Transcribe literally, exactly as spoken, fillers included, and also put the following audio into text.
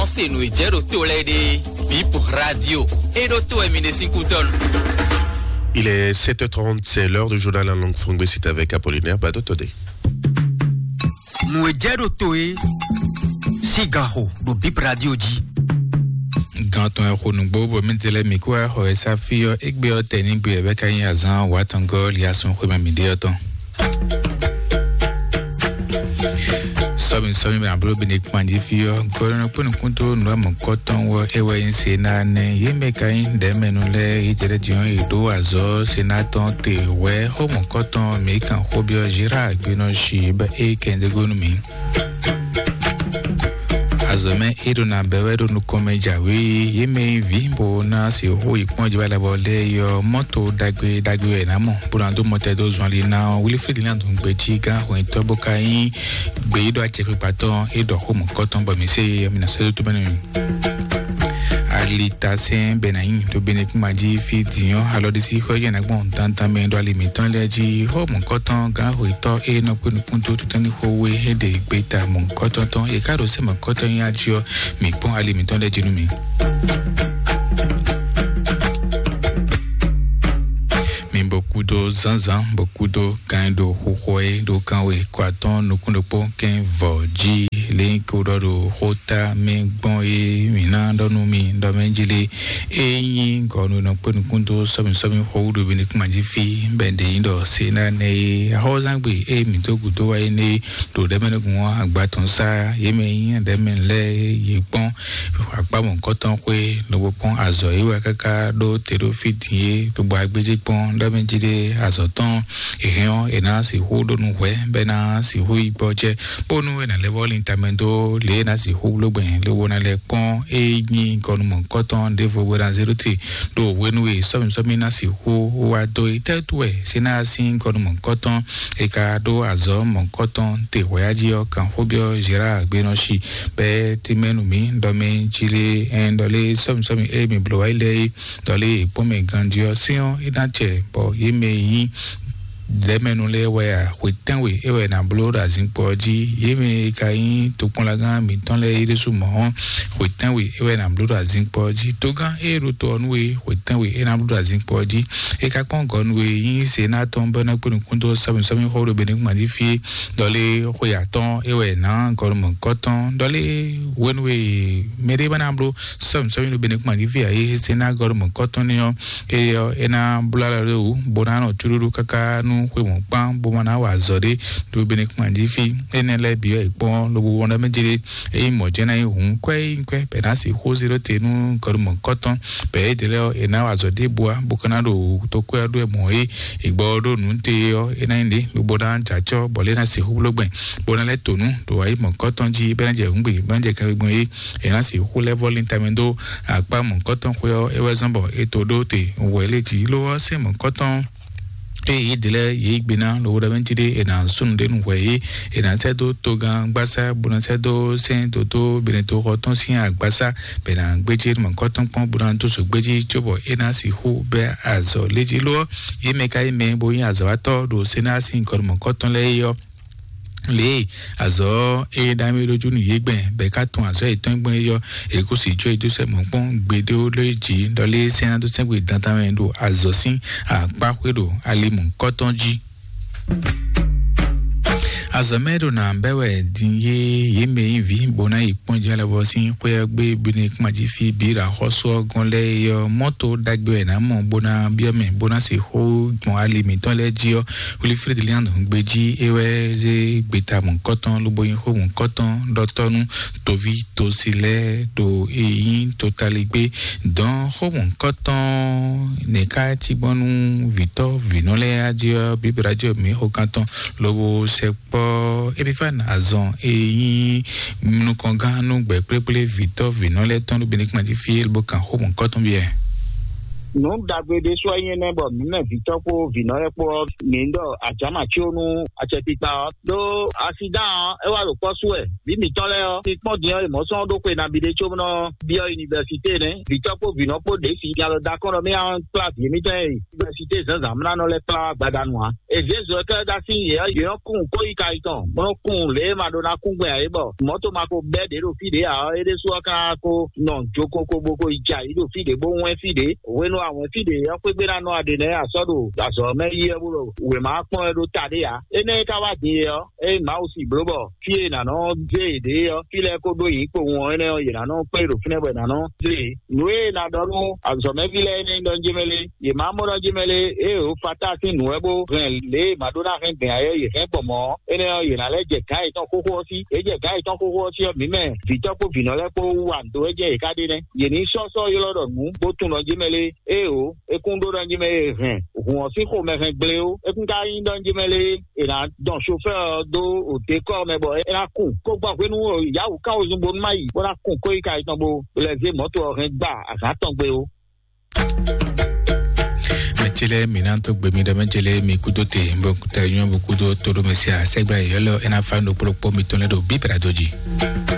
Se nǔ e jɛ ɖo to lɛ́ɛ ɖe, Bip Radio, e ɖo to wɛ mi ɖe sín kútɔ́ nu. Il est sept heures trente, c'est l'heure du journal en langue française, c'est avec Apollinaire Badotode. Nǔ e jɛ ɖo to e, sín gan xo ɖo Bip Radio jí. Gan tɔn e xo nǔgbó bɔ mì tɛlɛ mì kó wá xɔ e sá fí ɔ́, égbé ɔ́ tɛ ní gbe ɛ bɛ ka nyí azán wǎ tɔn gɔ́ li asɔn xwé mɛ mì ɖe ɔ́ tɔn. Sɔmi sɔmi bena bolo bene kpanji fi ɔ, gɔlɔnɔ kpɔnɔ kúndó nǔ amɔ kɔtɔn wɔ e wɛ nyi se na nɛ ye mɛ ka nyi ɖɛmɛnu lɛ yi jɛɖɛ diɔn yi ɖó azɔ se na tɔn te wɛ xɔmɔ kɔtɔn mi kan xɔ biɔ Gérard gbenɔ si bɛ e kɛndegonu mi. Azɔmɛ e ɖo na bɛ wɛ ɖo nukɔn mɛ jǎwe ye mɛ nyi vi bo na se xo yi kpɔn jɛ bɛ lɛ bɔ lɛ yɔ mɔto dagbe dagbe wɛ na mɔ bo na do mɔtɛ do zɔn li na ɔ wili fili na do gbe jí gán hwɛntɔ bo ka nyi gbe yi ɖo acɛkpikpatɔ e ɖɔ xo mɔ kɔtɔn bɔ mi se mi na se do to bɛ nɛ mi. Alitasɛn bɛ na nyi to bene kuma jí fi diɔ alɔdisi xɔ yɛ na gbɔn dandan mɛ ɖo ali mitɔn lɛ jí xo mɔ kɔtɔn gán hwetɔ e nɔ kpe nukun to tutɔni xo we e ɖe gbe ta mɔ kɔtɔn tɔn e ka ɖo sɛ mɔ kɔtɔn nyi ajiɔ mi kpɔn ali mitɔn lɛ jí nu mi. Mi bɔ kúdó zánzán bɔ kúdó kan ɖo xóxó e ɖo kan we kɔ atɔn nukún ɖokpó kɛn vɔ jí lé ko ɖɔ ɖo xóta mɛ gbɔn e mi ná ɖɔ nú mi ɖɔ mɛ jí lé e nyí gɔnu nɔ kpé nukún dó sɔmi sɔmi xó ɖo mi nukún ma jí fi bɛ ɖe nyí ɖɔ se ná nɛ e axɔzangbe e mi dó gǔdó wa é nɛ ɖo ɖɛmɛ nukún agba tɔn sá yé mɛ nyí ɖɛmɛ lɛ yé kpɔn akpá mɔ̌hunkɔtɔn xwé lobo kpɔ́n azɔ̌ e wɛ káká ɖó te ɖó fí din é, lobo agbéjé kpɔ́n ɖɔ mɛ jí ɖé azɔ̌ tɔn. È hɛn ɔ́, è nǎ sixú ɖó nǔ hwɛ̌ bɔ é ná sixú yi gbɔjɛ́, bónú è nǎ lɛ́ vɔ́ lin tamɛ dó lě e è nǎ sixú bló gbɛn lobo ná lɛ́ kpɔ́n é nyí gɔnu mɔ̌hunkɔtɔn ɖěvo bó ná zé ɖó te ɖo hwenu e sɔ́mǐ sɔ́mǐ ná sixú wá dó é. Tɛ́ wú wɛ Senáa sín gɔnu mɔ̌hunkɔtɔn è ka ɖó azɔ̌ mɔ̌hunkɔtɔn te hwɛ̌ jí ɔ́, kan xó byɔ́ Zerár gbenɔshi bɛ́ tɛ́nmɛ nú mì ɖɔ mɛ jí lé ɛn ɖɔ lé sɔ́mǐ sɔ́mǐ e mì bló wá yi lɛ́ɛ é, ɖɔ lé è kpɔ́n mɛ ganjí ɔ́, sɛ́n ɔ́ é ná jɛ bɔ yě mɛ e nyí lɛ̌mɛnu lɛ́ɛ wɛ a? Xwe tɛ́nwe é wɛ è nǎ bló ɖo azinkpo ɔ́ jí. Yě mɛ e ka nyí tokpɔnlagán mǐtɔn lɛ́ɛ é ɖésú mɔ̌ ɔ́, xwe tɛ́nwe é wɛ è nǎ bló ɖo azinkpo ɔ́ jí. Togán e ɖo to ɔ́ nú we, xwe tɛ́nwe é ná bló ɖo azinkpo ɔ́ jí. É ka kpɔ́n gɔ̌ nú we nyí se ná tɔn bɔ é ná kpé nukún dó sɔ́mǐ sɔ́mǐ xó ɖo Benɛ́kún fí é, ɖɔ lé xwe atɔ́ɔ́n é wɛ è nǎ gɔ́ nú mɔ̌hunkɔtɔn, ɖɔ lé hwenu e mɛɖé ba ná bló sɔ́mǐ sɔ́mǐ ɖo Benɛ́kún fí ǎ, é se ná gɔ́ nú mɔ̌hunkɔtɔn ní ɔ́, éyɛ́ ɔ́, é ná bló alɔ ɖé wǔ, bó ná nɔ cúɖúɖú káká nú xwe mɔ̌kpán, bó ma ná wa azɔ̌ ɖé ɖo Benɛ́kún fí. Énɛ́ lɛ́ɛ bǐ ɔ́, è kpɔ́n lobo wɔn ɖɔ mɛ jlé, ényí mɔ̌ jɛ́n ná nyí hǔn, kwɛ́ é nyí kwɛ́, bɔ è nǎ sixú zé ɖó te nú gɔ́ nú mɔ̌hunkɔtɔn, bɔ édɛɛ lɛ́ɛ ɔ́, è nǎ wa azɔ̌ ɖěbǔ ǎ, bó ka ná ɖo tokwɛ́ ɔ́ ɖó ɛ mɔ̌ é. Ìgbɔ ɔ́ ɖó nǔ te ɔ́, é ná nyí ɖě lobo ná jɛ acɔ́, bɔ lě ná sixú bló gbɛn, bó ná lɛ́ to nǔ ɖo wǎyi mɔ̌hunkɔtɔn jí, bɔ é ná jɛ hǔngbe, bɔ é ná jɛ kanwekpɔn é, è nǎ sixú lɛ́ vɔ́ lin tamɛ dó akpá mɔ̌hunkɔtɔn xwé ɔ́, é wɛ zɔ́n bɔ è to ɖó te wɛ lé jí. Lo ɔ́, sɛ́n mɔ̌hunkɔtɔn ée yě ɖe lɛ́ɛ yě yí gbe ná lobo ɖɔ mɛ jí ɖé è nǎ sú nǔɖé nú hwɛ é, è nǎ sɛ́ dó togán gbásá, bó ná sɛ́ dó sɛ́n dǒdó Benɛtoxɔ tɔn sín agbásá, bɔ è nǎ gbéjé mɔ̌hunkɔtɔn kpɔ́n, bó ná dó zǒ gbéjí, cóbɔ é ná sixú bɛ́ azɔ̌ lé jí. Lo ɔ́, yě mɛ ka nyí mɛ e bo nyí azɔ̌watɔ́ ɖo Senáa sín gɔ̌nmɔkɔ́ tɔn lɛ́ɛ é ɔ́, lě e azɔ̌ e ɖ'amɛ ɖó jú nú yě gbɛn, bɔ è ka tunwun azɔ̌ yětɔn gbɔn é ɔ́, è kó sì jó e dó sɛ mɔ̌ kpɔ́n gbeɖé ó lé jǐ, ɖɔ lé sɛ́n ná dó sɛ́n gbe dandan mɛ ɖo azɔ̌ sín akpá xwé ɖo ali mɔ̌hunkɔtɔn jí. Azɔ̌ mɛ ɖo nǎ bɛ́ wɛ din yé yě mɛ nyí vǐ bó ná yi kpɔ́n jí alɔ sín xwé ɔ́ gbé Benɛ́kún jí fí bǐ ɖo axɔ́sú ɔ́ gɔ́n lɛ́ɛ é ɔ́, mɔ́to ɖagbe wɛ è nǎ mɔ bó ná byɔ́ mɛ bó ná se xó gbɔn ali mǐtɔn lɛ́ɛ jí ɔ́, Wilifrédi Lian gbe jí é wɛ zé gbeta mɔ̌hunkɔtɔn lobo nyí xó mɔ̌hunkɔtɔn ɖɔtɔ́ nú toví tosi lɛ́ɛ ɖo e nyí totaligbé dɔn xó mɔ̌hunkɔtɔn nɛ̌ ká cí gbɔn nú vǐtɔ́ vǐnɔ lɛ́ɛ á jí ɔ́, Bíbélì jí ɔ́ mǐ xo kántɔn lobo sɛ kpɔ́ Epifani azɔn e nyí nukɔngán nú gbɛ̌kplékplé vǐtɔ́ vǐnɔ lɛ́ɛ tɔn ɖo Benɛ́kún jí fí é bó kan xó mɔ̌hunkɔtɔn byɔ́ ɛ. Nǔ ɖagbe ɖé sú ɔ́ nyí énɛ́ bɔ mǐ mɛ vǐtɔ́ kpó vǐnɔ lɛ́ɛ kpó ɔ́, mǐ ɖɔ ajǎ ma cí ó nú acɛkpikpa ɔ́. Ɖó asidán ɔ́, é wá ɖo kpɔ́ sú wɛ. Vǐ mǐtɔn lɛ́ɛ ɔ́, mi kpɔ́n din ɔ́, è mɔ̌ sɔ́ ɖó xwe nabí ɖé có nɔ byɔ́ univɛsité nɛ́. Vǐtɔ́ kpó vǐnɔ kpó ɖě si nya lɔ dó akɔ́n ɖɔ mì á kplá vǐ émítɔn e univɛsité zǎnzǎn mlá nɔ lɛ́ kplá wá gbada nu ǎ. È zě zɔ kɛ́ ɖó así yě ɔ́, yě nɔ kún kó yi ka yi tɔn, bó nɔ kún lě e ma ɖó ná kún gbɛn ǎ é bɔ mɔ̌ to ma ko bɛ́ ɖě ɖo fí ɖě ǎ ɔ́, é ɖésú ɔ́ ka ko nɔ jo koko bó ko yi jɛ ayǐ ɖo fí ɖě bó wɛ́n fí ɖě. Hwenu awɛ̌n fí ɖě ɔ́ xwé gbe ná nɔ aɖe nɛ́ a sɔ́ ɖo azɔ̌ mɛ yi ɔ́ bó ɖo wěma kpɔ́n wɛ ɖó ta ɖé ǎ. Énɛ́ e ka wá din é ɔ́, ée Mawu si bló bɔ fí e è nǎ nɔ zé yě ɖe ɔ́, fí lɛ́ɛ ko ɖó yǐ kpowun ɔ́, énɛ́ ɔ́, yě ná nɔ kplé ɖo fínɛ́ bɔ è nǎ nɔ zé yě. Nǔ e è nǎ ɖɔ nú azɔ̌mɛví lɛ́ɛ é nɛ́ nyí ɖɔ njí mɛ lé, yě má mɔ ɖɔ njí mɛ lé, ée è fata sín nǔ wɛ bó hɛn lě e è má ɖó ná hɛn gbɛn ǎ é ɔ́, yě hɛn gbɔn mɔ̌ ɔ́, énɛ́ ɔ́, yě ná lɛ́ jɛ gǎn yětɔn xóxó ɔ́ sí. Yě jɛ gǎn yětɔn xóxó ɔ́ sí ɔ́, mǐ mɛ vǐtɔ́ kpó vǐnɔ lɛ́ɛ kpó wú wa nǔ dó wɛ jɛ́n yě ká ɖe nɛ́. Yě ní sɔ́ sɔ́ ylɔ́ ɖɔ nǔ bó tunwun ɖɔ njí mɛ lé, ée o, é kún ɖó ɖɔ njí mɛ e hɛn hǔn ɔ́ sín xomɛ hɛn gblé ó. É kún ka nyí ɖɔ njí mɛ lé, è nǎ dɔn sofɛ́ɛ ɔ́ dó òdekɔ́ mɛ bɔ é ná kun. Kó gbɔ hwenu yǎwǔ kan wezun bónú má yi bó ná kun kóyíka yětɔn bó lɛ́ zé mɔ̌to ɔ́ hɛn gba azǎn tɔn gbe ó. Mɛjele mi na to gbe mi ɖe mɛjele mi kudo te bɔ kuta yɔn bu kudo to ɖo mɛ sia sɛgbla yɔlɔ ena fa no kplokpo mi tɔn lɛ ɖo bibra do dzi.